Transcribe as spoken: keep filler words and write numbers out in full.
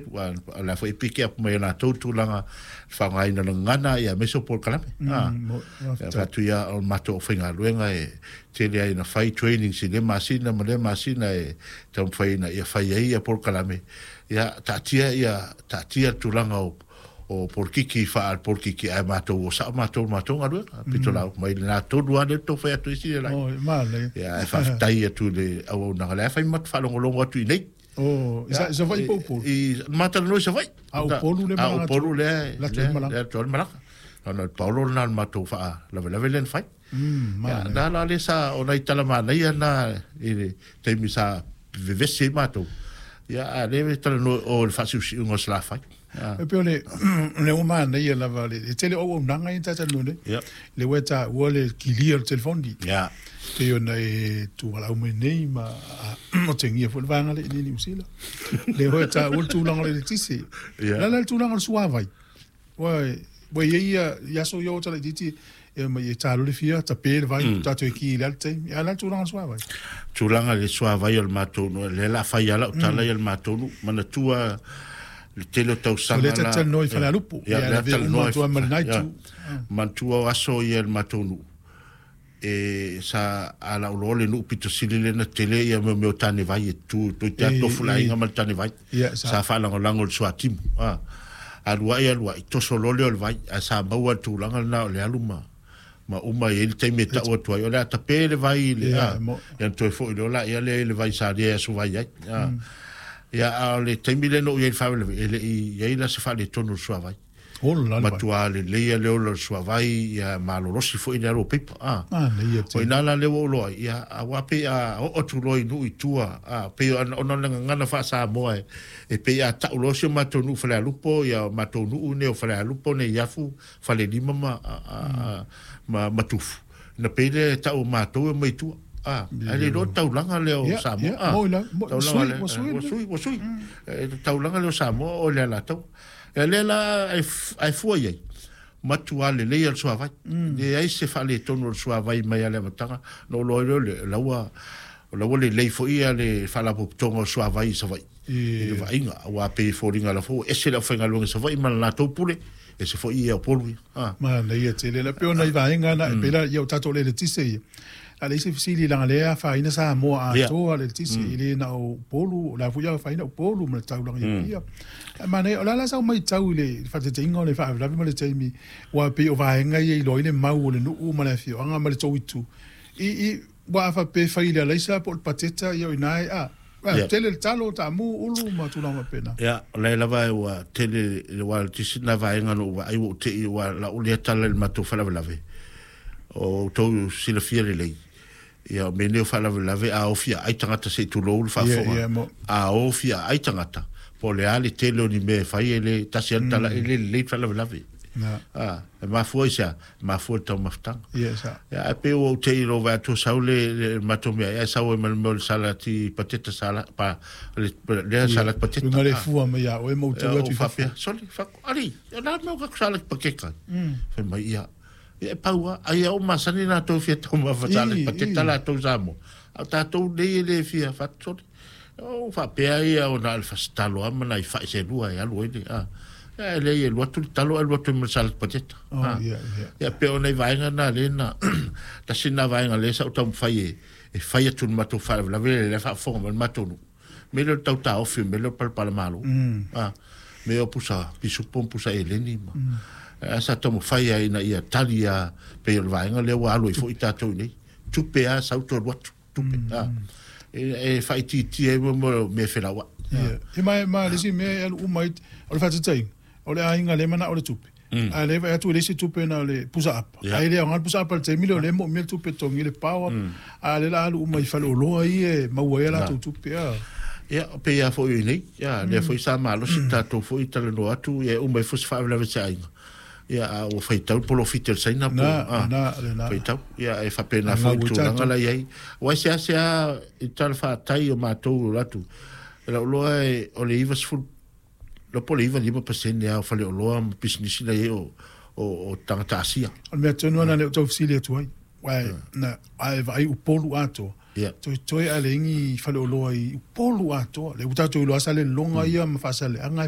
Ua o le a foi e piki up mai o latou tulaga faaaogaina o le gagana ia aemaise o polokalame. Ah. Ia fatu ia o le matou aufaigaluega e tele ai ina fai trainings i lea masina ma lea masina e taumafai ina ia fai ai ia polokalame. Ia taatia ia taatia le tulaga o o polokiki faa-polokiki ae matou o sao matou i le matou galuega pito lau mai lena tonu lava lea tou fai atu ai sili lai. Ia ae faafetai atu i le auaunaga lea fai ma faalogologo atu i nei. Oh, i sa Savaii po o Upolu? I matalanoa i Savaii. A Upolu le malaga. A Upolu le le atu le malaga. Ona o le paolo lena o le matou faalavelave lea na fai. Mm, ia, na la le sa o nai tala manaia na i le taimi sa vevesi ai matou. Ia, a le talanoa o le faasiusiuga o Salafai. E pei o le le ua manaia lava le le tele o auaunaga ia na talanoa nei. Ia. Le ua e taua le kilia o le telefoni. Ia. Pei ona e tuvalau mai nei ma otegia foi le vaega lea i inei i Niu Sila. Le ua e taua le tulaga o le eletise. Ia. O le a la le tulaga o le suavai? Ua ua i ai ia i aso ia o ota laitiiti e omai e ta loa le fia tape le vai tatou e ki i le a le taimi. A o le a le tulaga o le suavai? Tulaga i le suavai o le matou nuu, lea o le a fai lava lau tala ia le matou nuu. Manatua le tele o tausaga O lea ta te talanoa i Falealupo. Ia, Ia, lea lavea uma talanoa atu lava ma lena ia, itu. manatua o aso ia i le matou nuu, e sa a lau loa le nuu pito sili lea na tele ia mea mea o tanevai e tu toeitiiti lava E, tofu le aiga e, ma le tanevai. ia, sa. Sa faalagolago i le suatimu. A, alu ai alu ai, toso loa lea o le vai, ae sa maua le tulaga lena o le alu ma ma uma e i ai le taimi e tau atu ai, o le a tape le vai i le, Ia, a, mo. ia ona toe foi loa laia lea i le vai sa lia e aso vai ai. A, ia, a o le taimi lea na ou i ai i le faalavelave, e le i i ai la se faaletonu o le suavai. Ola le vai. Matua lelei le ola o le suavai, ia malolosi foi le alu o paipa. A. Manaia O tele. ina la lea ua ou iloa ai, ia, aua pei a oo atu loa i nuu i tua, a, pei ona ona o le gagana faa-Samoa e, e pei a tau loa si o matou nuu Falealupo, ia o matou nuu nei o Falealupo, Neiafu, Falelima ma, a, a, a, ma Matufu. Na pei lea e tau o matou e omai i tua. A, ae le iloa le taulaga lea o Ia, Samoa. ia, A, moi la, moi, taulaga sui, lea, ua sui ua le. sui, ua sui. E, taulaga lea o Samoa o le Alataua. Ia lea la e, e fua i ai, matua lelei le suavai. Leai se faaletonu o le suavai mai a le amataga. Na ou iloa ai lea o le laua, o la ua lelei foi ia le faalapotopotoga o suavai i Savaii. I le E, vaaiga, aua pei e foliga la foi ua ese le aufaigaluega i Savaii ma le latou pule, ese foi ia Upolu ia. Ah. Manaia tele la. Pei ona i vaega na, e pei la ia o tatou le eletise ia. A le isi fesili leaga lea e afaina Samoa Ia. atoa le eletise, e le na o Upolu, o la foi e afaina Upolu ma le taulaga i Apia. Ae manaia, o le a la sau matau i le faataitaiga o le faalavelave ma le taimi, aua pei o vaega ia e iloa ai le mau o le nuu ma le afioaga ma le tou itu. I, i, ua a faapea e fai i le alaisa po o le pateta, ia o ina e, a, a, Ia. tele le talo, taamu, ulu ma tulaga faapena. Ia, o la e lava ua tele le ua tisi na vaega na ou vaai ua ou tei ua lau lea tala i le matou faalavelave. O outou silafia lelei. Ia, o mea nei o faalavelave a ofia ai tagata se i tulou le Ia, faafofoga. ia, mo. A ofia ai tagata, po o le a le tele o ni mea e fai e le tasi lava le tala e le lelei le faalavelave. Na. A, e mafua i se a? E mafua i le taumafataga. Ia, sa. Ia, ae pei ua ou tei i lou vaai atu sau le, le matou mea, ae sau ai ma le mea o le salati pateta sala, pa, le, lea Ia, salati pateta. Luga le Ah. fua mai ia oe ma ou Ia, tau ou atu i fafo. faapea, sole, faku, ali, o le a le mea o kaku salati pakeka? Fai mai, ia, ia, e pau lava, ai a o masani latou fia taumafa salati I, pateta i. latou Samoa. A o tatou nei e le fia fatu, sole. O faapea ia o na o le fasitalo lava ma nai fai se lua e alu ai le, ah. Ia, e leai e alu atu le talo ae alu atu ai ma le salati pateta. Oh, Ah. ia, ia. Ia, pei o nai vaega na lea na, tasi na vaega lea sa ou taumafai e, e fai atu i le matou faalavelave lea lea faafofoga mai le matou nuu. Mea lea o le tau taofi, mea lea o le palapalamalo. Ah, mea o pusa pisupo ma pusa eleni ma. Ah, sa taumafai ai ina ia tali a pei o le vaega lea ua alu ai foi tatou i nei. Tupe a sau toe alu atu, tupe. Ah, e, e faaitiitia ai mo mea felauai. Ia, ia ma, ma le isi mea e alu uma ai, o le faataitaiga, o le aiga lea e manao le tupe. A o lea e vaai atu e leai se tupe na o le pusa apa. Ia. Ae le aoga le pusa apa i le taimi lea, o lea e moomia le tupe e totogi ai le power. A o lea o le a alu uma i faleoloa ia e maua ai a latou tupe. A. Ia, o pei lava foi i nei, ia, lea foi sa malosi tatou foi talanoa atu, ia e uma ai foi se faalavelave i se aiga. Ia, a ua faitau le polofiti o le Saina po, Na, ah, na, lena. faitau. Ia, e faapena foi Gau le i tulaga tatou. la i ai. Aua e seasea i tala faatai o matou o atu. E lau iloa e o le ivasefulu, loa po o le iva lima pasene lava o faleoloa ma pisinisi la i ai o, o, o tagata Asia. O le mea tonu lena lea ou tau fesili atu ai. Aua na, a e vaai Upolu atoa. Ia. Toetoe ae leai ni faleoloa i Upolu atoa. Lea ua tatou iloa lava sa le lologa ia ma faasaleaga e